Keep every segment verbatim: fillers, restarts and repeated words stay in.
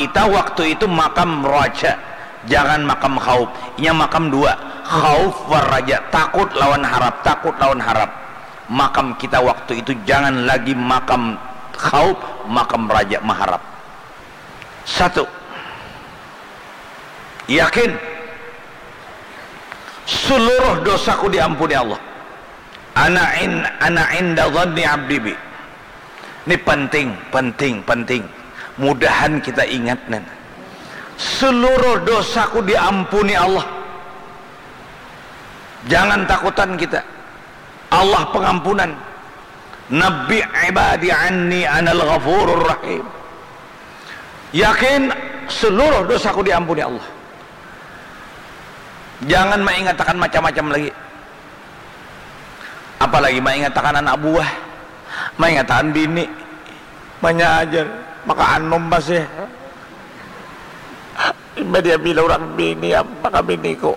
Kita waktu itu makam raja, jangan makam khauf. Inya makam dua, khauf war raja, takut lawan harap, takut lawan harap. Makam kita waktu itu jangan lagi makam khauf, makam raja maharap. Satu, yakin seluruh dosaku diampuni Allah. Ana in, ana inda dhanni abdi bi. Ini penting, penting, penting. Mudahan kita ingat nih. Seluruh dosaku diampuni Allah. Jangan takutan kita. Allah pengampunan. Nabbi ibadi anni anal ghafurur rahim. Yakin seluruh dosaku diampuni Allah. Jangan mengatakan macam-macam lagi. Apalagi mengatakan anak buah, mengatakan bini. Banyak aja. Maka anum pasti. Imbah dia bila orang bini, apa ka biniku?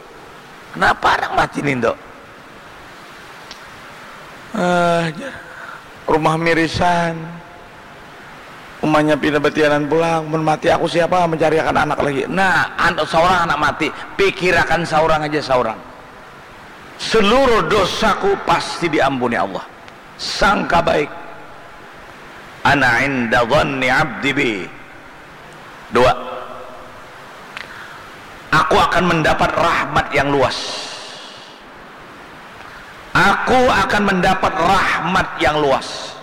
Kenapa anak mati nih, Dok? Ah, jar. Rumah mirisan. Umanya pindah batianan pulang. Mun mati aku siapa mencariakan anak lagi? Nah, an-, seorang anak mati. Pikirakan seorang aja seorang. Seluruh dosaku pasti diampuni Allah. Sangka baik. Ana inda dhanni abdi bi. Dua. Aku akan mendapat rahmat yang luas. Aku akan mendapat rahmat yang luas.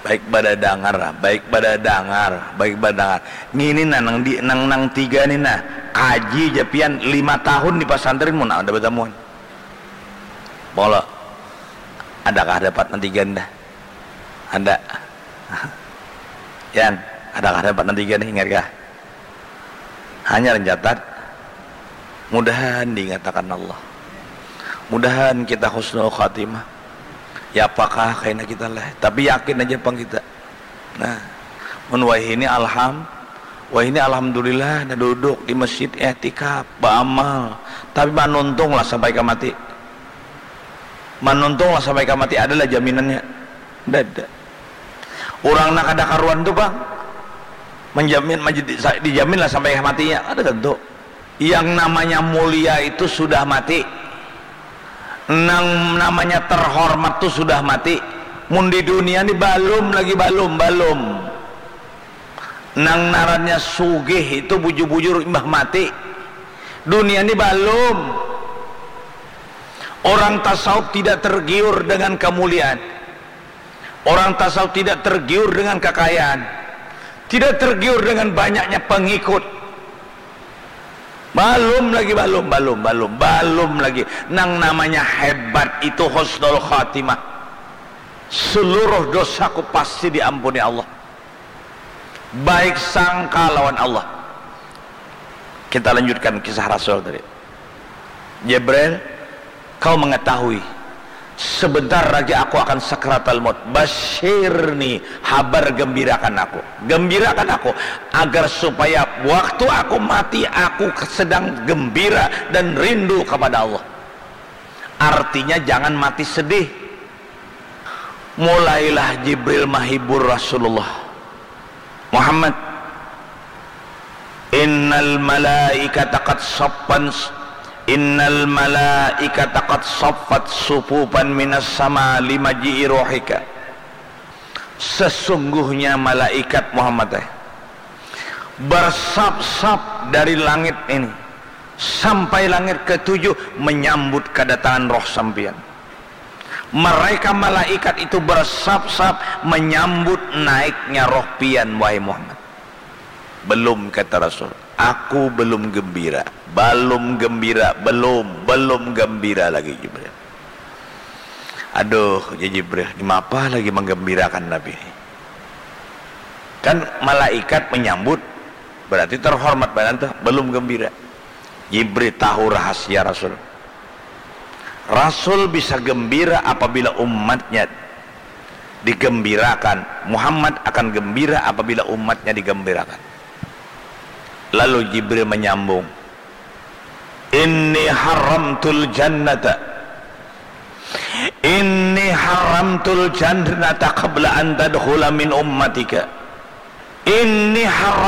Baik pada dangar, baik pada dangar, baik pada dangar. Ngini nah, nang di, nang, nang tiga ni nah, kaji ja pian lima tahun di pasantren mun ada batamuan. Pola, adakah dapat nang tiga ni dah? Ada. Yan, adakah dapat nang tiga ni, ingat kah? Hanyar ncatat, mudahan diingatakan Allah. Mudahan kita husnul khatimah. Ya apakah kaina kita lah, tapi yakin aja pang kita. Nah, mun wahini alham, wahini alhamdulillah, nah duduk di masjid, iktikaf, baamal. Tapi manuntung lah sampai ka mati. Manuntung lah sampai ka mati, adalah jaminannya? Dada. Urang nang kada karuan tu pang menjamin, menjadi, dijamin lah sampai matinya, kada tentu. Yang namanya mulia itu sudah mati. Nang namanya terhormat tu sudah mati. Mun di dunia ni balum lagi, balum, balum. Nang narannya sugih itu bujur-bujur imbah mati. Dunia ni balum. Orang tasawuf tidak tergiur dengan kemuliaan. Orang tasawuf tidak tergiur dengan kekayaan, tidak tergiur dengan banyaknya pengikut. Balum lagi, balum, balum, balum, balum lagi. Nang namanya hebat itu husnul khatimah. Seluruh dosaku pasti diampuni Allah. Baik sangka lawan Allah. Kita lanjutkan kisah Rasul tadi. Jibril, kau mengetahui, sebentar lagi aku akan sakratal maut. Basyirni, habar gembirakan aku. Gembirakan aku, agar supaya waktu aku mati, aku sedang gembira dan rindu kepada Allah. Artinya, jangan mati sedih. Mulailah Jibril mahibur Rasulullah. Muhammad, innal malaikata qad saffan, innal malaikata qad saffat sufufan minas sama limaji'i rohika. Sesungguhnya malaikat, Muhammad, eh, bersap-sap dari langit ini sampai langit ketujuh menyambut kedatangan roh sampian. Mereka malaikat itu bersap-sap menyambut naiknya roh pian, wahai Muhammad. Belum, kata Rasul. Aku belum gembira. Belum gembira, belum, belum gembira lagi, Jibril. Aduh, ya Jibril, mapa lagi menggembirakan Nabi ini? Kan malaikat menyambut, berarti terhormat banar tuh, belum gembira. Jibril tahu rahasia Rasul. Rasul bisa gembira apabila umatnya digembirakan. Muhammad akan gembira apabila umatnya digembirakan. Lalu Jibril menyambung, inni haramtul jannata, inni haramtul jannata qabla an tadkhula min ummatika. Ini haram